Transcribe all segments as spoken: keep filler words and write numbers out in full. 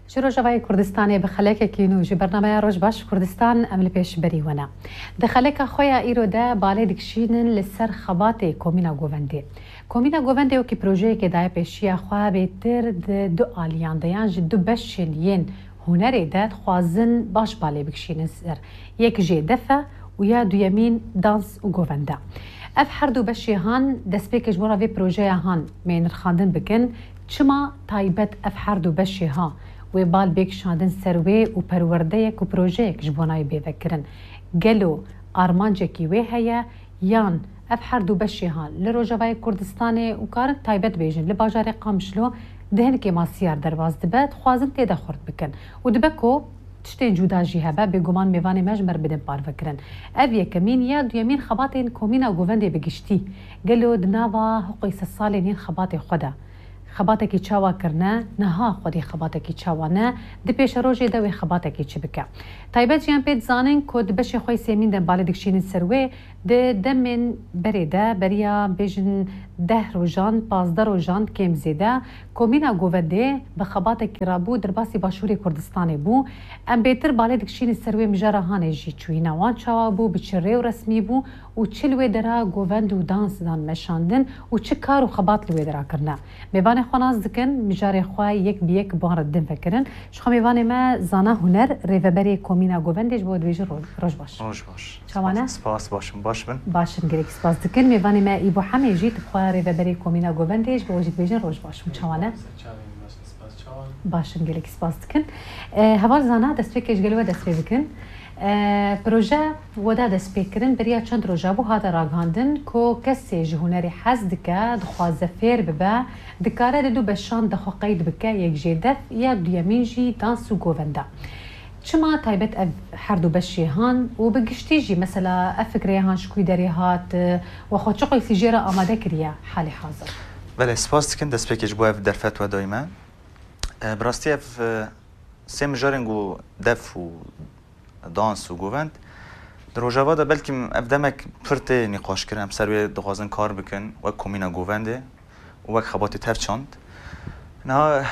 Ji Rojavayê Kurdistanê bi xelekekî nû ji bernameya Roj Baş Kurdistan em li pêşberî we ne. Di xeleka xwe ya îro de balê dikişînin li ser xebatê Komîna Govendê. Komîna Govendê wekî projeyekê daye pêşiya xwe bêtir di du aliyan de yan ji du beşên yên hunerê de dixwazin baş balê bikişînin ser. Yek jê def e û ya duyemîn dans û govend e. Ev her du beşê han destpêkê ji bona vê projeya han mê nirxandin bikin. Çima taybet ev her du beşê ha wê bal bê kişandin ser wê û perwerdeyek û projeyek ji bona wê bê vekirin? Gelo armancekî wê heye yan ev her du beşê ha li Rojavayê Kurdistanê û karin taybet bêjin li bajarê Qamişlo di hin kêmasiyar derbas dibe, dixwazin tê de xurt bikin û dibe ku tiştên cuda jî hebe, bêguman mêvanê me ji me re bidin parvekirin. Ev yekemîn ya duyemîn xebatên Komîna Govendê bi giştî. Gelo di nava hiqûy sed salên yên xebatê xwe de xebatekî çawa kirine, niha xwedî xebatekî çawa ne, di pêşerojê de wê xebatekî çi bike? Taybet jî em pê dizanin ku di beşê xwe yê sêmîn de balê dikişînin ser wê, di demên berê de, beriya bêjin deh rojan, pazdeh rojan kêm zêde, Komîna Govendê bi xebatekî rabû derbasî Başûrê Kurdistanê bû. Em bêtir balê dikişînin ser wê mijara hanê jî çûyîna wan çawa bû, bi çi rê û resmî bû û çi li wê dera govend û dans dan meşandin û çi kar û xebat li wê dera kirine. Mêvanê xwe nas dikin, mijarê xwe yek bi yek bi wan re din vekirin. Ji xwe mêvanê me Zana Huner, rêveberê Komîna Govendê, ji bo dibêjin ro-, roj baş. Roj baş. Çawa ne? Spas, spas, baş in, baş bin. Baş in, gelekî spas dikin. Mêvanê me Îbo Hemê jî, tu bi xwe rêveberê Komîna Govendê, ji bo we jî dibêjin roj baş. Hûn çawa ne? Baş in, gelekî spas dikin. E, heval Zana, destpêkê ji gel we dest pê bikin. E, proje we da destpêkirin, beriya çend roja bû hate ragihandin ku kesê ji hunerê hez dike, dixwaze fêr bibe, dikare di du beşan de xwe qeyd bike, yek jê def ya duyemîn jî dans û govenda. Çima taybet ev her du beşê han û bi giştî jî mesela ev fikreya han ji kû derê hat, we xwe çi qeysî jê re amade kiriye halê hazir? Belê, spas dikin destpêkê ji bo ev derfet we dayî me. E, bi rastî ev, e, sê mijarên ku def û dans û govend di Rojava de belkî ev demek pir tê nîqaşkirin, em ser wê dixwazin kar bikin wek komîna govendê û wek xebatê tev çand. Niha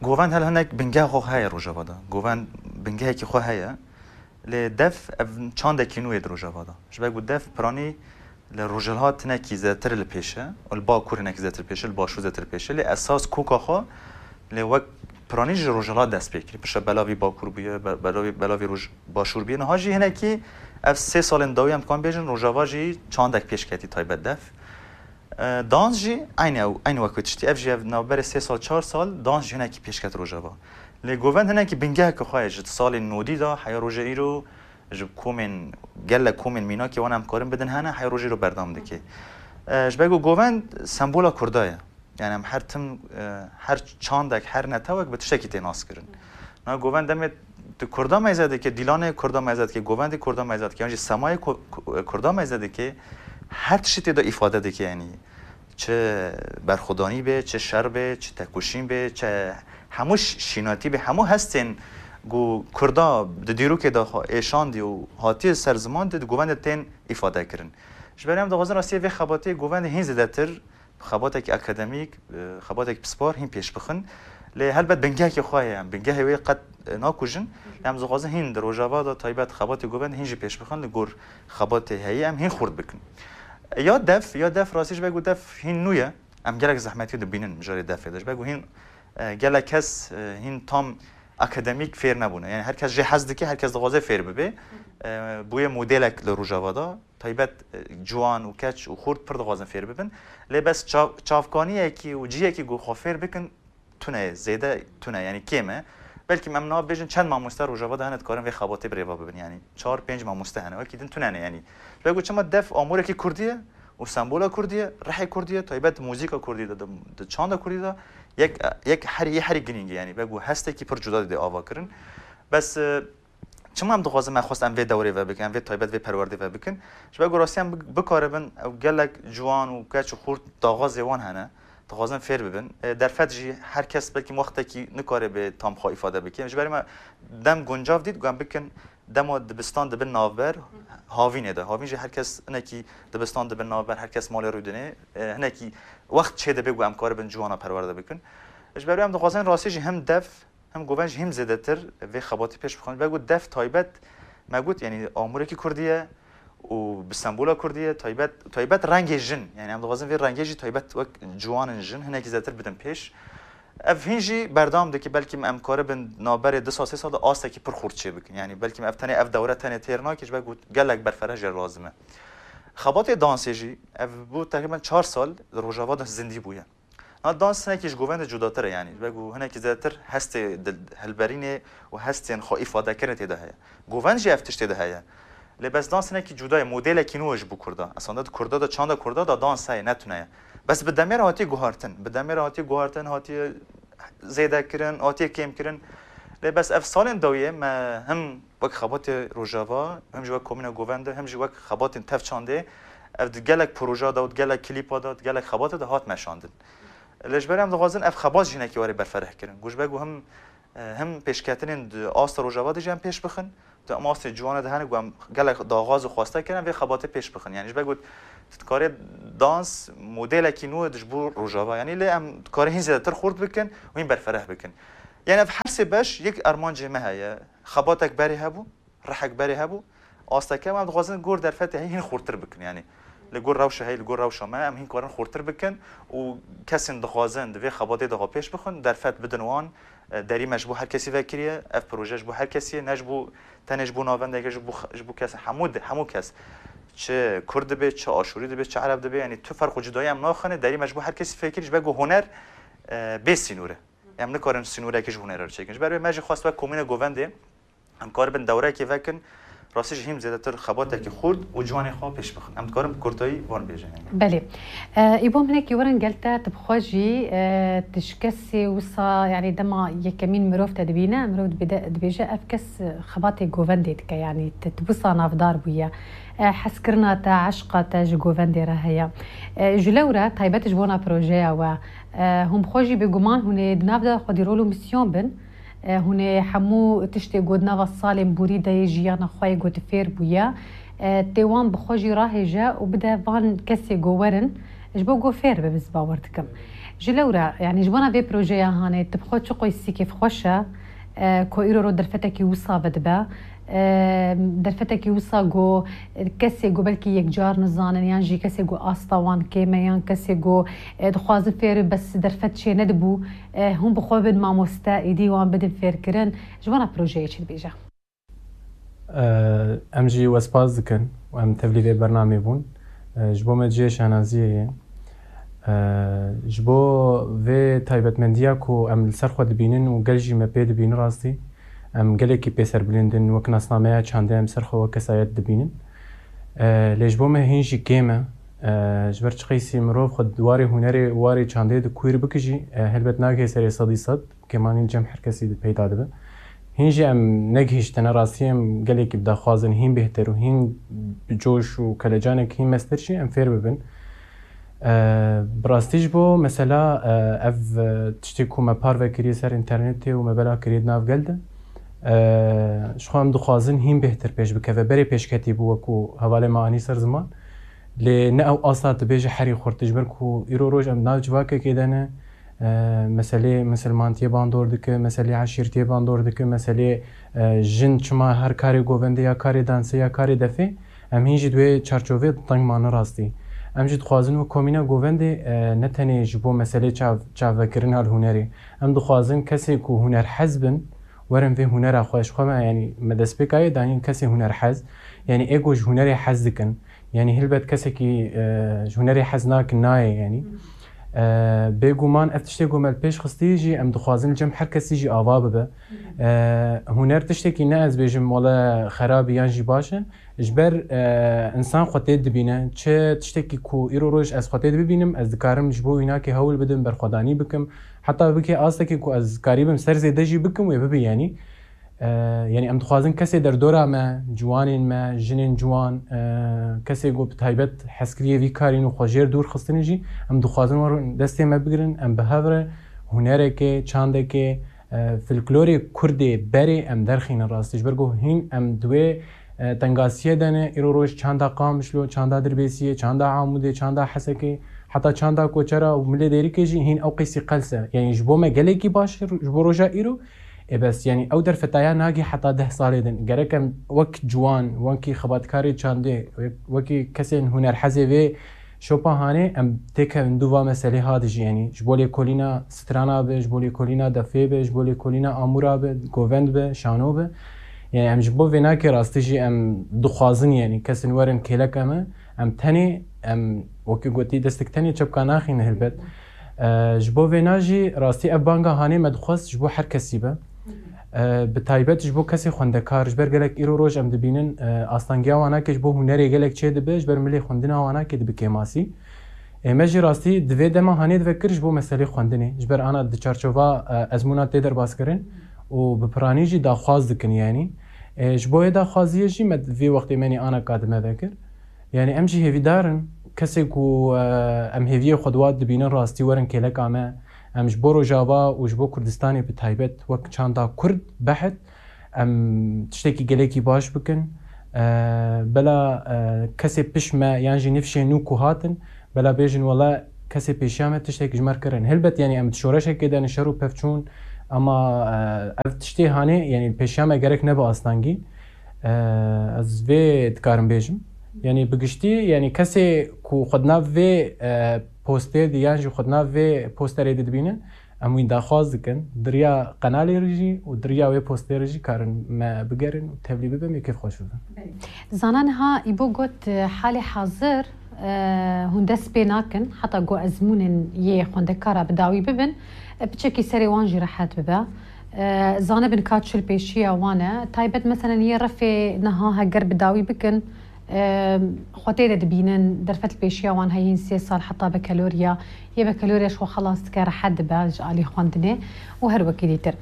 govend hel hinek bingeha xwe heye Rojava de. Govend bingehekî xwe heye. Lê def ev çandekî nû ye di Rojava de. Ji ber ku def piranî li rojhilhat hinekî zêdetir li pêş e û li bakur hinekî zêdetir pêş e, li başûr zêdetir pêş e. Lê esas koka xwe lê wek piranî ji rojhilhat dest pê kiriye. Piştre belavî bakur bûye, be-, belavî, belavî roj-, başûr bûye. Niha jî hinekî ev sê salên dawî em dikarin bêjin, Rojava jî çandek pêş ketî taybet def. E, dans jî eynî ew, eynî wek wê tiştî. Ev jî ev navberê sê sal, çar sal dans jî hinekî pêş ket Rojava. Lê govend hinekî bingeheke xwe ye ji salên nodî de heya roja îro ji komên, gelek komên mînakê wan em karin bidin hene, heya roja îro berdewam dike. E, ji ber ku govend sembola Kurda ye. Yani em her tim, e, her çandek, her netewek bi tiştekî tê naskirin. Na govend demê tu Kurda meyze dike, dîlanê Kurda meyze dike, govendê Kurda meyze dike, yan jî semayê Ku-, Ku-, Kurda meyze dike, her tiştî tê de îfade dike, yanî çi berxwedanî be, çi şer be, çi tekoşîn be, çi hemû ş-, şînatî be, hemû hestên ku Kurda di dîrokê de xwe êşandî û hatiye ser ziman de di govendê tên îfade kirin. Ji ber em dixwazin rastiyê vê xebatê govendê hîn zêdetir xebatekî akademîk, e, xebatekî pispar hîn pêş bixin. Lê helbet bingehekî xwe heye, em bingehê wê qet, e, nakujin. Em dixwazin hîn di Rojava de taybet xebatê govend hîn jî pêş bixin, li gor xebatê heyî em hîn xurt bikin. E, ya def, ya def rastî ji ber ku def hîn nû ye, em gelek zehmetî dibînin mijarê defê de. Ji ber ku hîn, e, gelek kes, e, hîn tam akademîk fêr nebûne. Yani her kes jê hez dike, her kes dixwaze fêr bibe. E, bûye modelek li Rojava de. Taybet, e, ciwan û keç û xurt pir dixwazin fêr bibin. Lê bes çav-, çavkaniyekî û cihekî ku xwe fêr bikin tune ye, zêde tune, yanî kêm e. Belkî em niha bêjin çend mamoste Rojava de hene dikarin vê xebatê bi rêva bibin. Yanî çar pênc mamoste hene. Wekî din tune ne yanî. Ji ber ku çima def amûrekî kurdî ye û sembola kurdî ye, rihê kurdî ye, taybet muzîka kurdî de, di, di çanda kurdî de yek, yek herî, yê herî girîng e yanî. Ber ku hestekî pir cuda dide ava kirin. Bes, e, Çima em dixwazin, me xwest em vê dewrê vebikin, em vê taybet, vê perwerdê vebikin? Ji ber ku rastî em bi-, bikaribin, ew gelek ciwan û keç û xurt daxwazê wan hene, dixwazin fêr bibin. E, derfet jî her kes belkî wextekî nikare bê tam xwe îfade bike. Ji ber me dem guncav dît, ku em bikin dema dibistan dibin navber havînê de. Havîn jî her kes hinekî dibistan dibin navber, her kes malê rûdinê, e, hinekî wext çê dibe ku em karibin ciwana perwerde bikin. Ji ber wê em dixwazin rastî jî him def, Him govend jî him zêdetir vê xebatê pêş bixin. Ve got def taybet me got, yanî amûrekî kurdî ye û bi sembola kurdî ye, taybet, taybet rengê jin. Yanî em dixwazin vê rengê jî taybet wek ciwanin jin hinekî zêdetir bidin pêş. Ev hîn jî berdewam dike, belkî em karibin navberê du sal, sê sal de astekî pir xurt çêbikin. Yanî belkî ev tenê, ev dewre tenê têr nake, ji ber ku gelek berfireh jê lazim e. Xebatê dansê jî, ev bû teqrîben çar sal li Rojava de zindî bûye. Na dans hinekî ji govendê cudatir e, yanî ji ber ku hinekî zêdetir hestê dil-, hilberînê û hestên xwe îfadekirinê tê de heye. Govend jî ev tişt tê de heye. Lê bes dans hinekî cuda ye, modelekî nû ye ji bo kurda. Esanda di kurda de, çanda kurda de dans heye, ne tune ye. Bes bi demê re hatiye guhartin. Bi demê re hatiye guhartin, hatiye zêde kirin, hatiye kêm kirin. Lê bes ev salên dawiyê me him wek xebatê Rojava, him jî wek komîna govendê, him jî wek xebatên tev çandê, ev di gelek proja de û di gelek klîpa de, di gelek xebatê de hat meşandin. Lê ji ber em dixwazin ev xebat jî hinekî were berfireh kirin. Ku ji ber ku him, e, him pêşketinên di asta Rojava de jî em pêş bixin, di em astê ciwanê de hene ku em gelek daxwaz û xweste kirin, em vê xebatê pêş bixin. Yanî ji ber ku tu dikarê dans modelekî nû ye ji bo Rojava. Yanî lê em dikarê hîn zêdetir xurt bikin û hîn berfireh bikin. Yanî ev her sê beş yek armancê me heye. Xebatek berê hebû, rihek berê hebû, asteke em dixwazin gor derfetê heyî hîn xurtir bikin. Yanî li gor rewşa heyî, li gor rewşa me em hîn karin xurtir bikin û kesên dixwazin di vê xebatê de xwe pêş bixin, derfet bidin wan, e, derî me ji bo her kesî vekiriye, ev proje ji bo her kesî ye, ne ji bo, tenê ji bo navendeke, ji bo x-, ji bo kes, hemû di-, hemû kes. Çi kurd dibe, çi aşûrî dibe, çi ereb dibe, yanî tu ferq û cudayî em naxine, derî me ji bo her kesî fekirî, ji ber ku huner, e, bê sînor e. Em nikarin sînoreke ji hunerê re çêkin. Ji ber vê me jî xwest wek komîna govendê em karibin dewrekê vekin, rastî jî hîn zêdetir xebatekî xurt û ciwanê xwe pêş bixin. Em dikarin bi kurtayî van bêjin. Belê. E, Îbom, hinekî werin gel te, tu bi xwe jî, e, tu ji kesê wisa, yanî dema yekemîn mirov te dibîne, mirov dibêde-, dibêje ev kes, e, xebatê govendê dike, yanî tu, tu wisa navdar bûye. E, hezkirina te, eşqa te ji govendê re heye. E, ji lew re taybet ji bona projeya we. E, hûn bi xwe jî bêguman hûn ê di nav de xwedî rol û misyon bin. E, hûn ê hemû tiştê ku di nava salên borî de yê jiyana xwe yê ku tu fêr bûye, e, tê wan bi xwe jî rahêje û bide van kesê ku werin ji bo ku fêr bibin, ez bawer dikim. Ji lew re, yanî ji bona vê projeya hanê, tu bi xwe çi qoysî kêfxweş e, e, ku îro ro derfetekî wisa vedibe? E, derfetekî wisa ku kesê ku belkî yekcar nizanin, yan jî kesê ku asta wan kêm e, yan kesê ku, e, dixwazin fêr bes derfet çê nedibû, e, hûn bi xwe bin mamoste, êdî wan bidin fêrkirin. Ji bona projeyê çi dibêje? E, em jî we spas dikin û em tevlî vê bernamê bûn. E, ji bo me cihê şanaziyê ye. E, ji bo vê taybetmendiya ku em li ser xwe dibînin û gel jî me pê dibînin rastî, em gelekî pê serbilind in, wek nasnameya çandê em ser xwe wek kesayet dibînin. E, lê ji bo me hîn jî kêm e. E, ji ber çiqeysî mirov xwe di warê hunerê û warê çandê di kuîr bike jî, e, helbet nagihê serê sedî sed. Kêmanî li cem her kesî di peyda dibe. Hîn jî em negihîştine, rastî em gelekî bi daxwazin hîn bêhtir û hîn bi coş û kelecanek hîn mestir jî em fêr bibin. E, bi rastî ji bo mesela, e, ev, e, tiştê ku me parve kiriye ser înternetê û me bela kiriye di nav gel de, e, ji xwe em dixwazin hîn bêhtir pêş bikeve. Berê pêşketî bû wekû hevalê me anî ser ziman. Lê ne ew asta tu bêje herî xurt, ji ber ku îro roj em nav civakekê de ne, e, meselê misilmantiyê bandor dike, meselê eşîrtiyê bandor dike, meselê, e, jin çima her karê govendê ya karê dansê ya karê defê, em hîn jî di wê çarçovê teng mane rastî. Em jî dixwazin wek komîna govendê, e, ne tenê ji bo meselê çav-, çavvekirina li hunerê. Em dixwazin kesê ku hunerhez bin, werin vê hunera xwe ji xwe me, yanî me destpêka yê danîn kesê hunerhez, yanî ê ku ji hunerê hez dikin, yanî hilbet kesekî, e, ji hunerê hez nakin nayê, yanî. E, bêguman ev tiştê ku me li pêş xistî jî em dixwazin li cem her kesî jî ava bibe. E, huner tiştekî ne ez bêjim wele xerab e yan jî baş e. Ji ber, e, însan xwe tê dibîne, çi tiştekî ku îro roj ez xwe tê dibînim, ez dikarim ji bo wînakê hewl bidim, berxwedanî bikim. Heta bike astekî ku ez karîbim ser zêde jî bikim, wê bibe, yanî. E, yanî em dixwazin kesê derdora me, ciwanên me, jinên ciwan, e, kesê ku bi taybet hezkiriyê vî karîn û xwe jêr dûr xistine jî, em dixwazin wer destê me bigirin, em bi hev re hunerekê, çandekê, e, folklorê kurdê berê em derxînin rastî. Ji ber ku hîn em di wê, e, tengasiyê de ne, îro roj çanda Qamişlo, çanda Dirbêsiyê, çanda Amûdê, çanda Hesekê, heta çanda Koçera û Milê Dêrikê jî hîn ew qeysî qels e. Yanî ji bo me gelekî baş e, ji bo roja îro, Ê bes, yanî ew derfetaya nagî heta deh salê din. Gerek em wek ciwan, wekî xebatkarê çandê, wek-, wekî kesên hunerhezê vê şopa hanê, em têkevin dû va meselê ha dijî, yanî ji bo lêkolîna strana be, ji bo lêkolîna defê be, ji bo lêkolîna amûra be, govend be, şano be. Yanî em ji bo vê nakê rastî jî em dixwazin, yanî kesin werin kêleka me, em tenê, em wekî gotî destek tenê çepka naxîne helbet. E, ji bo vêna jî rastî ev banga hanê me dixwest ji bo her kesî be. E, bi taybet ji bo kesê xwendekar, ji ber gelek îro roj em dibînin, e, astangiya wanakê ji bo hunerê gelek çê dibe, ji ber milê xwendina wanakê dibe kêmasî. Ê me jî rastî di vê dema hanê dive kir ji bo meselê xwendinê. Ji ber ana di çarçova, e, ezmûna tê derbas kirin û bi piranî jî daxwaz dikin, yanî. E, ji bo yê daxwaziyê jî me vê wextê me nî ana ka di me vekir. Yanî em jî hêvîdar in, kesê ku, e, em hêviyê xwe di wa dibînin rastî werin kêleka me. Em ji bo Rojava û ji bo Kurdistanê bi taybet wek çanda Kurd behit, em tiştekî gelekî baş bikin. E, bela, e, kesê pişt me yan jî nifşê nû ku hatin, bela bêjin wela kesê pêşiya me tiştek ji me re kirin. Helbet, yanî em di şoreşekê de ne, şer û pevçûn, ama, e, ev tiştê hanê, yanî pêşiya me gerek nebe astangî. E, ez vê dikarim bêjim. Yanî bi giştî, yanî kesê ku xwe di nav vê, e, postê de yan jî xwe di nav vê posterê de dibînin, em wî daxwaz dikin. Di riya qenalê re jî û di riya wê postê re jî karin me bigerin û tevlî bibin, wê kêfxweş bibin. Zana niha Îbo got, e, halê hazir, e, hûn dest pê nakin, heta ku ezmûnên yê xwendekara bi dawî bibin, e, piçekî serê wan jî rehet bibe. E, zanibin ka çi li pêşiya wan e. Taybet, meselen, yê refê niha heger bi dawî bikin, e, xwe tê de dibînin, derfet li pêşiya wan heyîn sê sal heta bekeloriya, yê bekeloriya ji xwe xelas dike, rehet dibe ji alî xwendinê û her wekî dîtir.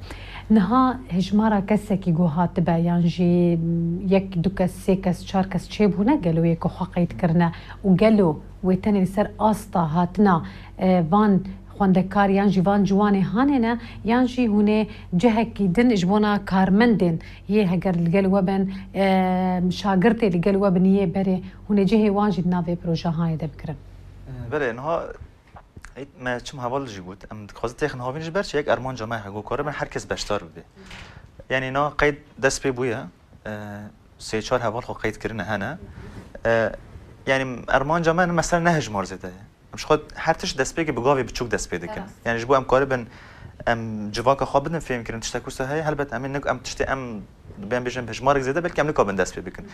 Niha hejmara kesekî ku hatibe, yan jî yek, du kes, sê kes, çar kes çêbûne, gelo yê ku xwe qeyd kirine û gelo wê tenê li ser asta hatina, e, van xwendekar yan jî van ciwanê hanê ne, yan jî hûn ê cihekî din ji bona karmendên yê heger li gel we bin, e, şagirtê li gel we bin yê berê, hûn ê cihê wan jî di nav vê projehanê de bikirin? Belê, niha ê, me çim heval jî got, em dixwazin têxin havîn ji ber çi? Yek armanca me heye ku karibin her kes beşdar bibe. Yanî na qeyd dest pê bûye, e, sê çar heval xwe qeyd kirine hene. E, yanî armanca me mesela ne hejmar zêde ye. Em ji xwe her tişt destpêkê bi gavê biçûk dest pê dikin. Rast. Yanî ji bo em karibin em civaka xwe bidin fêhmkirin tiştek wisa heye, helbet em ê nik-, em tiştê em, bên bêjin hejmarek zêde, belkî em nikabin dest pê bikin.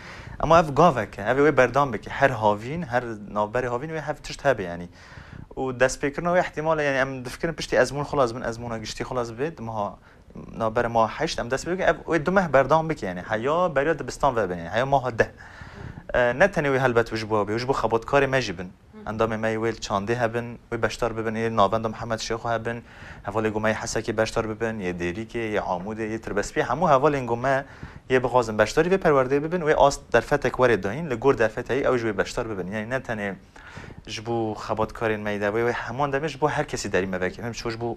Ema ev gavek e, ev ê wê berdam bike. Her havîn, her navberê havîn wê hev tişt hebe yanî. Û destpêkirina wê ihtimal e, yanî em difikirin piştî ezmûn xelas bin, ezmûna giştî xelas bibe, di meha navbera meha heşt em dest pê bikin, ev wê du meh berdam bike, yanî heya beriya dibistan vebe, yanî heya meha deh. E, ne tenê wê helbet wê ji bo wê, wê ji bo xebatkarê me jî bin. Endamê me yê wê li çandê hebin, wê beşdar bibin, yê navenda Mihemed Şêxo hebin, hevalê ku me yê Hesekê beşdar bibin, yê Dêrîkê, yê Amûdê, yê Tirbespiyê, hemû hevalên ku me yê bixwazin beşdarî vê perwerdeyê bibin, wê ast derfetek were dayîn, li gor derfeteyî ew jî wê beşdar bibin. Yanî ne tenê ji bo xebatkarên me yê de, wê, wê heman demê ji bo her kesî derî me veke. Hem ji bo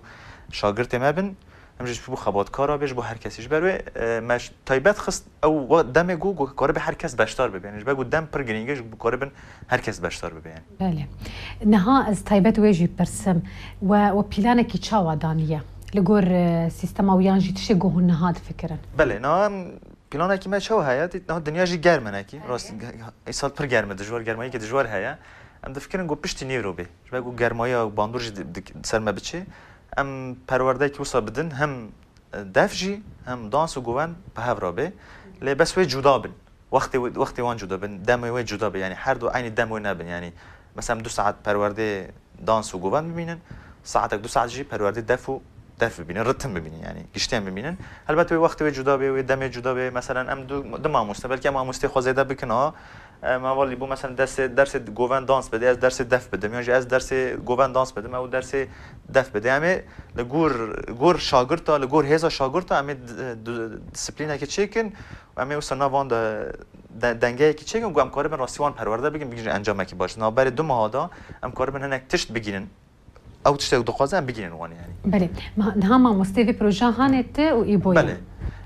şagirtê me bin, hem jî ji bo xebatkara be, ji bo her kesî. Ji ber wê, e, me ji taybet xist ew we-, demê ku, ku karibe her kes beşdar bibe. Yanî ji ber ku dem pir girîng e, ji bo karibin her kes beşdar bibe yanî. Belê. Niha ez taybet wê jî pirsim. We, we planekî çawa daniye? Li gor, e, sîstema û yan jî tiştê ku hûn niha difikirin? Belê, niha em planekî me çawa heye? Dît, niha dinya jî germ e nekî. Belê. Rast, ge-, ge-, îsal pir germ e, dijwar, germayîkê dijwar heye. Em difikirin ku piştî nîvro bê. Ji ber ku germayiya bandor jî di, di, ser me biçê. Em perwerdeyekî wisa bidin, hem def jî, hem dans û govend bi hev re bê. Lê bes wê cuda bin. Wextê, wextê wan cuda bin, demê wê cuda be. Yanî her du eynî dem wê nebin. Yanî mesela em du saet perwerdê dans û govend bimînin, saetek du saet jî perwerdê def û def bibînin, ritim bibînin, yanî giştiyan bimînin. Helbet wê wextê wê cuda bê, wê demê cuda bê. Meselen em du, du mamoste, belkî em mamostê xwe zêde bikin, ha. Em hevalî bû, meselen dersê, dersê govend dans bide, ez dersê def bidim, yan jî ez dersê govend dans bidim, ew dersê def bide. Em ê li gor, gor şagirta, li gor hêza şagirta em ê di-, di-, disiplînekê çêkin û em ê wisa nav wan de, de, dengeyekî çêkin ku em karibin rastî wan perwerde bikin, bigihîjin encamekî baş. Navberê du meha de em karibin hinek tişt bigihînin. Ew tiştek dixwaze em bigihînin wan yanî. Belê. Ma-, niha mamostê vê projeya hanê tu û Îboyê. Belê.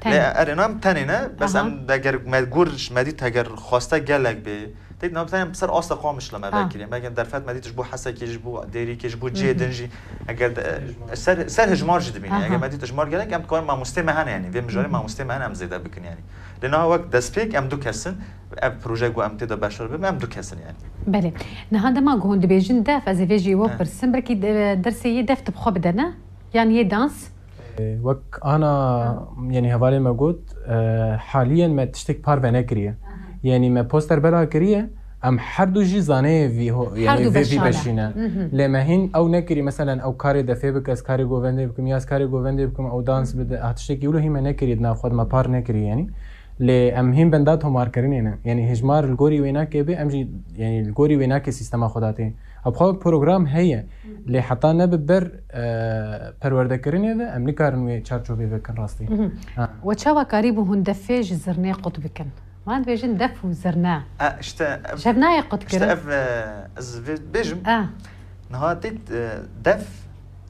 Tenê. Lê erê, na em tenê ne, bes Aha. em deger me gor ji me dît heger xweste gelek bê, Têt nabî tenê ser asta Qamişlo me vekirî. Belkî derfet me dît ji bo Hesekê, ji bo Dêrîkê, ji bo cihê din jî. Eger de, ser, ser hejmar jî dibîne. Eger me dît hejmar gelek, em dikarin mamostê me hene, yanî vê mijarê mamostê me hene em zêde bikin, yanî. Lê niha wek destpêk em du kes in, ev proje ku em tê de beşdar bibin, em du kes in, yanî. Belê. Niha dema ku hûn dibêjin def, ez ê vê jî we pirsim, belkî de-, dersê yê def tu bi xwe bide, ne? Yan yê dans? Wek ana, yanî hevalê me got, e, haliyen me tiştek parve nekiriye. Yanî me poster bela kiriye, em her du jî zaneyê vî ho-, yanî vê vî beşî ne. Lê me hîn ew nekirî, meselen ew karê defê bike, ez karê govendê bikim, ya ez karê govendê bikim, ew dans bide, ha tiştekî wilo hî me nekirî di nav xwe de, me par nekirî yanî. Lê em hîn benda tomarkirinê ne. Yanî hejmar li gorî wênakê bê, em jî yanî li gorî wênakê sîstema xwe datê. Ev xwe program heye. Lê heta nebe ber, e, perwerdekirinê de em nikarin wê çarçovê vekin rastî. Mhm. Ha. We çawa karîbû hûn defê ji zirnê qut bikin? Van dibêjin def û zirne. E, işte ev, Ji hev nayê qut işte kirin? ev, e, ez vê bêjim. E. Niha têt, e, def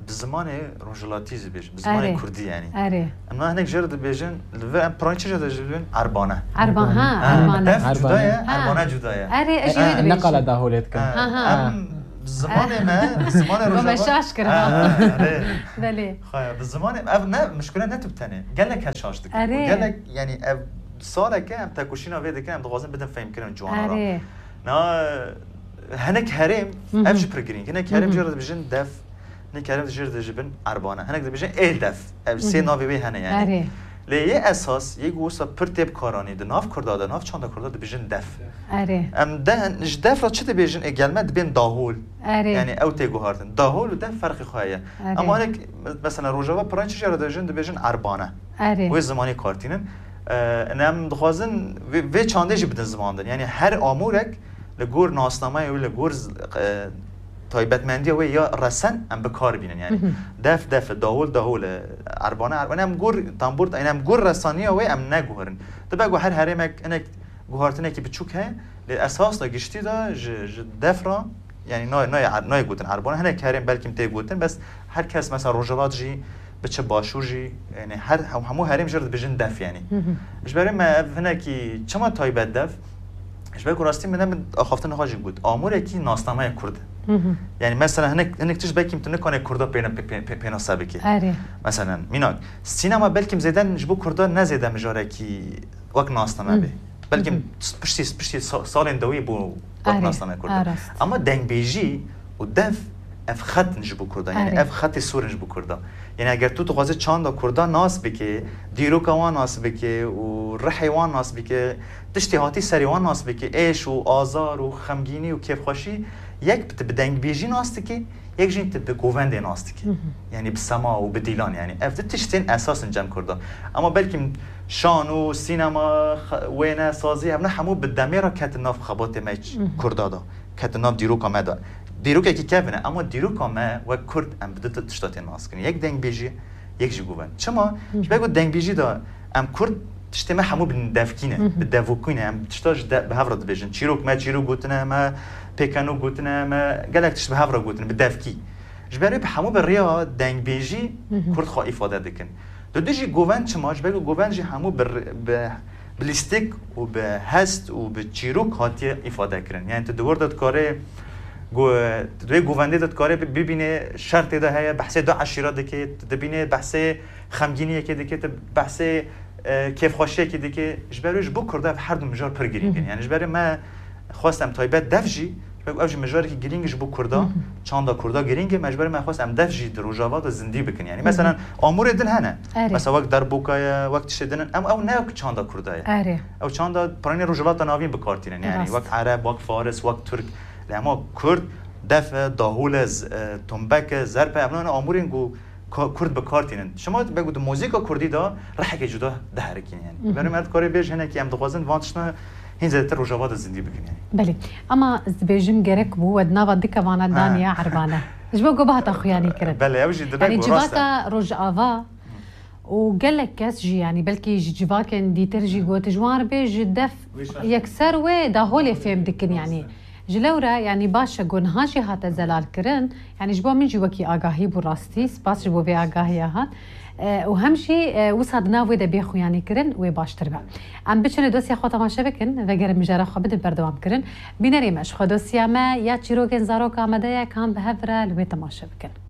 bi zimanê rojhilatî jî bêjim, bi zimanê Erê. kurdî yanî. Erê. Em niha hinek jê re dibêjin, li vir em piranî çi jê dibêjin? Erbane. Erba-, ha, Ha, erbane. Def Erbane. cuda ye, Ha. erbane cuda ye. Erê, ez jê re Ha, dibêjim. Ne qala daholê dikin. Ha, Ha. em zimanê me, zimanê Bo me rojava. şaş kir, Ha, ha. ha, erê. Belê. Xaya, bi zimanê, ev ne, mişkile ne tu bi tenê. Gelek kes şaş dikin. Erê. Gelek, yanî ev saleke em tekoşîna vê dikin, em dixwazin bidin fehmkirin ciwana re. Erê. Na, hinek herêm, Hı hı. ev jî pir girîng. Hinek herêm Hı hı. jê re dibêjin def, hinek herêm jê re dibêjin erbane. Hinek dibêjin ê def. Ev sê Hı hı. navê wê hene yanî. Erê. Lê yê esas, yê ku wisa pir tê bikaranî, di nav kurda de, nav çanda kurda dibêjin def. Erê. Em de, ji def re çi dibêjin? Ê gel me dibên dahol. Erê. Yanî ew tê guhartin. Dahol û def ferqê xwe heye. Erê. Ama hinek, mesela rojava piranî çi jê re dibêjin? Dibêjin erbane. Erê. Wê zimanê kartînin. E, em dixwazin vê, vê çandê jî bidin ziman din. Yanî her amûrek li gor nasnameya wê, li gor z-, e, taybetmendiya wê ya resen em bi kar bînin. Yanî Mhm. def, def e, dahol, dahol e, erbane, erbane. Em gor tambûr, yanî em gor resaniya wê em neguherin. Dibe ku her herêmek hinek guhartinekî biçûk heye, lê esas de giştî de ji, ji def re, yanî nayê, nayê er-, nayê gotin erbane. Hinek herêm belkî tê gotin, bes her kes mesela Rojhilat jî, biçe Başûr jî, yanî her, hem-, hemû herêm jê re dibêjin def yanî. Hı hı. Ji ber wê me ev hinekî çima taybet def? Ji ber ku rastî min ne min axaftina xwe jî got. Amûrekî nasnameya kurd. Hı hı. Yanî mesela hinek, hinek tişt belkî tu nikanê kurda pêna-, pê-, pê-, pê-, pênase bikî. Erê. Mesela mînak, sînema belkî zêden ji bo kurda ne zêde mijarekî wek nasname Hı. bê. Belkî Hı hı. piştî, piştî sa-, salên dawî bû wek Erê, nasname kurda. a rast. Ama dengbêjî û def ev xet in ji bo kurda. Yanî Erê. ev xetê sor in ji bo kurda. Yanî eger tu dixwazî çanda kurda nas bike, dîroka wan nas bike û rihê wan nas bike, tiştê hatî serê wan nas bike, êş û azar û xemgînî û kêfxweşî, yek tu bi dengbêjî nas dike, yek jî tu bi govendê nas dike. Hı hı. Yanî bi sema û bi dîlan yanî. Ev di tiştên esas in cem kurda. Ama belkî şan û sînema, xe-, wêne, sazî, ev ne hemû bi demê re ketin nav xebatê me Hı hı. kurda de. Ketin nav dîroka me de. Dîrokekî kevin e, ama dîroka me wek kurd em bi du tişta tên nas kirin. Yek dengbêjî, yek jî govend. Çima? Hı hı. Ji ber ku dengbêjî de em kurd tiştê me hemû bi devkî ne, Hı hı. bi devokî ne. Em tişta ji de, bi hev re dibêjin. Çîrok me çîrok gotine, me pêkenok gotine, me gelek tişt bi hev re gotine, bi devkî. Ji ber wê bi hemû bi rêya dengbêjî Hı hı. kurd xwe îfade dikin. Di du jî govend çima? Ji ber ku govend jî hemû bi, bi, bi lîstik û bi hest û bi çîrok hatiye îfade kirin. Yanî tu di wir de dikarê go-, tu di wê govendê de dikarê bi-, bibînê şer tê de heye, behsê du eşîra dike, tu dibînê behsê xemgîniyekê dike, tu behsê, e, kêfxweşiyekê dike. Ji ber wê ji bo kurda ev her du mijar pir girîng in. Hı hı. Yanî ji ber wê me xwest em taybet def jî, ji ber ku ev jî mijarekî girîng e ji bo kurda, Hı hı. çanda kurda girîng e, me ji ber me xwest em def jî di Rojava de zindî bikin. Yanî Hı hı. mesela amûrê din hene. Erê. Mesela wek derboka ye, wek tiştê din in. Em ew ne wek çanda kurda ye. Erê. Ew çanda piranî Rojhilata Navîn bi kar tînin. Yanî Rast. wek ereb, wek faris, wek tirk. Lê hema kurd def e, dahol e, z-, e, tumbek e, zerp e. Ev ne amûrên ku ka-, kurd bi kar tînin. Şima wek di muzîka kurdî de rihekê cuda diherikîne yanî. Hı hı. Berê me dikarê bêj hinekî em dixwazin van tiştine hîn zêdetir Rojava de zindî bikin yanî. Belê. Ama ez dibêjim gerek bû we di nava du kevana Ha. daniya erbane. Ji bo ku bihata xuyanî kirin. Belê, ew jî dibe Yanî ku rast e. civaka Rojava û gelek kes jî, yanî belkî ji civakên dîtir jî Hı. got, ji wan re bê ji def Wê şaş. yekser wê daholê fêm dikin yanî. Rast e. Ji lewre, yanî baş e, ku niha jî hate zelalkirin, yanî ji bo min jî wekî agahî bû rastî, spas ji bo vê agahiya hat. E, û hem jî, e, wisa di nav wê de bê xuyanî kirin, wê baştir be. Em biçin ê dosya xwe temaşe bikin, vegerin mijara xwe bidin berdewam kirin. Bînerê me, ji xwe dosya me ya çîrokên zarok amade ye, kan bi hev re li wê temaşe bikin.